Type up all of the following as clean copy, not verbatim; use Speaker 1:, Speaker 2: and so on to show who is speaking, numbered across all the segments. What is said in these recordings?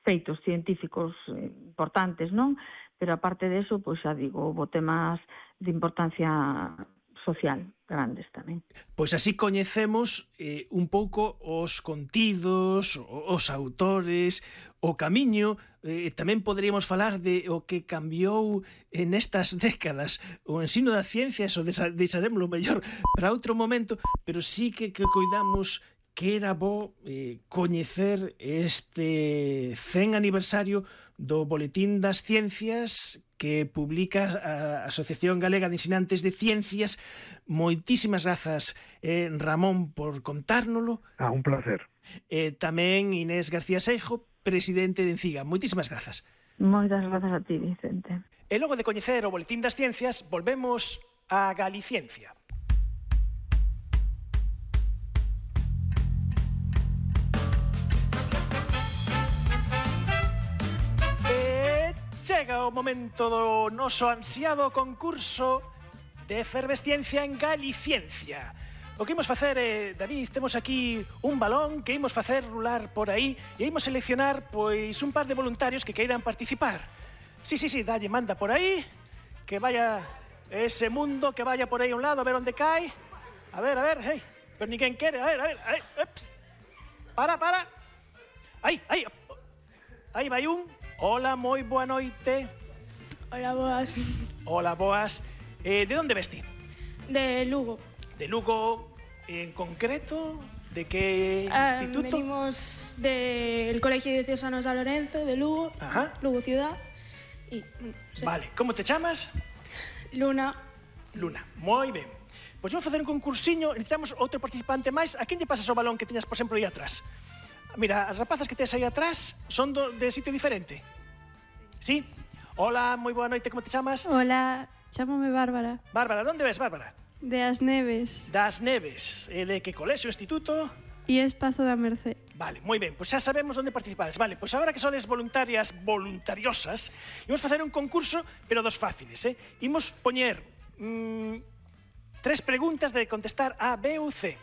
Speaker 1: feitos científicos importantes, non? Pero aparte de eso, pois xa digo, houve temas de importancia social grandes tamén.
Speaker 2: Pois así coñecemos un pouco os contidos, os autores, o camiño. Tamén poderíamos falar de o que cambiou nestas décadas o ensino das ciencias, o deixaremoslo mellor para outro momento, pero sí que coidamos que era bo coñecer este 100 aniversario do Boletín das Ciencias que publica a Asociación Galega de Ensinantes de Ciencias. Moitísimas grazas, Ramón, por contárnolo.
Speaker 3: Un placer.
Speaker 2: Tamén Inés García Seijo, presidente de Enciga. Moitísimas grazas.
Speaker 1: Moitas grazas a ti, Vicente.
Speaker 2: E logo de coñecer o Boletín das Ciencias, volvemos a Galiciencia. Chega o momento do noso ansiado concurso de efervesciencia en Galiciencia. O que imos facer David, temos aquí un balón que imos facer rular por aí e imos seleccionar, pois, un par de voluntarios que queiran participar. Sí, dalle, manda por aí, que vaya ese mundo, que vaya por aí a un lado, a ver onde cae. A ver, hey, pero ninguén quere, a ver, ups. Para. Aí vai un. Hola, moi boa noite.
Speaker 4: Hola, boas.
Speaker 2: Hola, boas. De onde vesti?
Speaker 4: De Lugo.
Speaker 2: De Lugo, en concreto, de que instituto?
Speaker 4: Venimos del Colegio de Diocesanos San Lorenzo, de Lugo, Lugo Ciudad. Y, sí.
Speaker 2: Vale, como te chamas?
Speaker 4: Luna.
Speaker 2: Luna, moi ben. Pois vamos facer un concursiño, necesitamos outro participante máis. A quen lle pasas o balón que teñas, por exemplo, aí atrás? Mira, as rapazas que tes aí atrás son de sitio diferente. Sí? Hola, moi boa noite, como te chamas?
Speaker 5: Hola, chámome Bárbara.
Speaker 2: Bárbara, onde ves, Bárbara?
Speaker 5: De As Neves.
Speaker 2: Das Neves. De que colexio, instituto?
Speaker 5: E Espazo da Mercé.
Speaker 2: Vale, moi ben, pois xa sabemos onde participades. Vale, pois agora que sodes voluntariosas, imos facer un concurso, pero dos fáciles, Imos poñer 3 preguntas de contestar A, B ou C.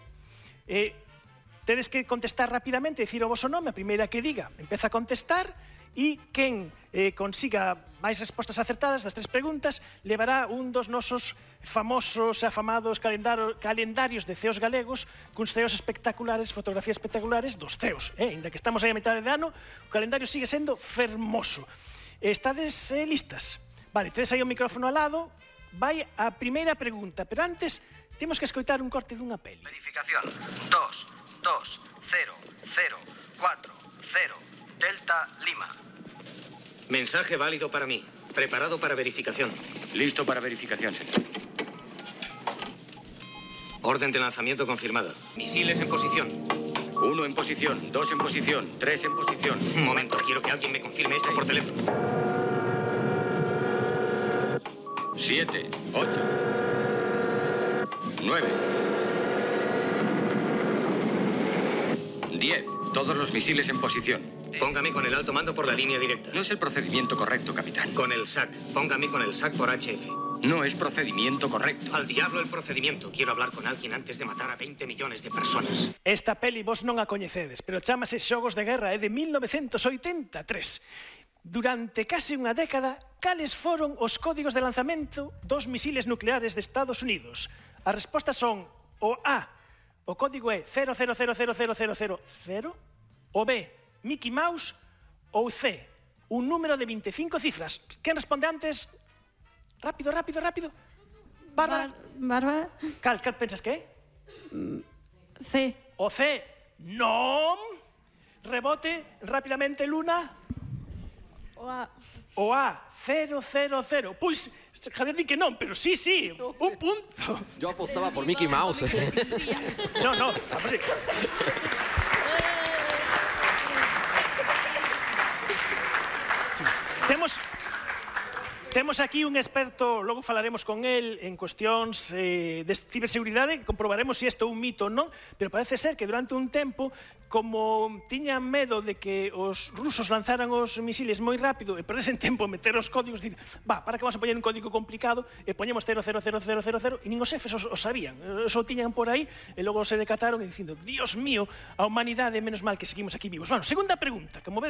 Speaker 2: Tedes que contestar rapidamente, dicir o voso nome, a primeira que diga empeza a contestar, e quen consiga máis respostas acertadas das 3 preguntas levará un dos nosos famosos e afamados calendarios de ceos galegos, cuns ceos espectaculares, fotografías espectaculares dos ceos. Ainda que estamos aí a metade de ano, o calendario sigue sendo fermoso. Estades listas? Vale, tedes aí o micrófono al lado, vai a primeira pregunta, pero antes temos que escoitar un corte dunha peli.
Speaker 6: Verificación 2, 0, 0, 4, 0, Delta Lima.
Speaker 7: Mensaje válido para mí. Preparado para verificación.
Speaker 8: Listo para verificación, señor.
Speaker 7: Orden de lanzamiento confirmada. Misiles en posición.
Speaker 8: 1 en posición, 2 en posición, 3 en posición.
Speaker 7: Un momento, quiero que alguien me confirme esto por teléfono.
Speaker 8: 7, 8, 9, 10. Todos los misiles en posición.
Speaker 7: Póngame con el alto mando por la línea directa.
Speaker 8: No es el procedimiento correcto, capitán.
Speaker 7: Con el SAC. Póngame con el SAC por HF.
Speaker 8: No es procedimiento correcto.
Speaker 7: Al diablo el procedimiento. Quiero hablar con alguien antes de matar a 20 millones de personas.
Speaker 2: Esta peli vos non a coñecedes, pero chámase Xogos de Guerra, é de 1983. Durante case unha década, cales foron os códigos de lanzamento dos misiles nucleares de Estados Unidos? As respostas son o A, o código é 00000000, o B, Mickey Mouse, ou C, un número de 25 cifras. Quen responde antes? Rápido. Bárbara.
Speaker 5: Bárbara.
Speaker 2: Cal pensas que é?
Speaker 5: C.
Speaker 2: O C, non. Rebote, rapidamente, Luna.
Speaker 4: O A.
Speaker 2: O A, 000. Pois, Javier di que non, pero sí, un punto.
Speaker 9: Yo apostaba por Mickey Mouse.
Speaker 2: No, hombre. Temos aquí un experto, logo falaremos con él en cuestións de ciberseguridade, comprobaremos se isto é un mito ou non, pero parece ser que durante un tempo, como tiñan medo de que os rusos lanzaran os misiles moi rápido e perdesen tempo en meter os códigos, dir, para que vamos a poñer un código complicado e poñemos 0000000 e nin os xefes os sabían, só tiñan por aí e logo se decataron dicindo, Dios mío, a humanidade, menos mal que seguimos aquí vivos. Bueno, segunda pregunta, como